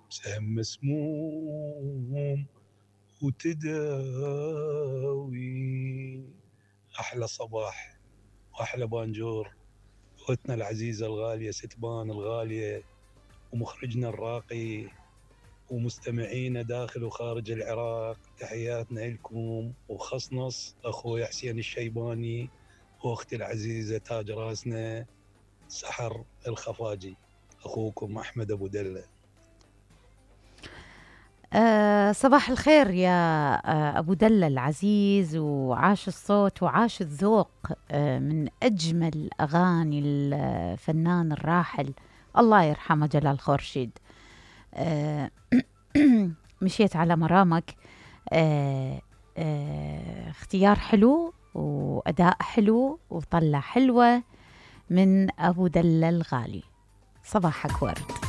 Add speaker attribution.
Speaker 1: سهم مسموم وتداوي. أحلى صباح وأحلى بانجور أختنا العزيزة الغالية ستبان الغالية، ومخرجنا الراقي، ومستمعينا داخل وخارج العراق، تحياتنا لكم. وخصنص أخوي حسين الشيباني وأختي العزيزة تاج راسنا سحر الخفاجي. أخوكم أحمد أبو دلة.
Speaker 2: صباح الخير يا أبو دلة العزيز، وعاش الصوت وعاش الذوق من أجمل أغاني الفنان الراحل الله يرحمه جلال خورشيد. مشيت على مرامك، اختيار حلو وأداء حلو وطلع حلوة من أبو دلة الغالي. صباحك ورد.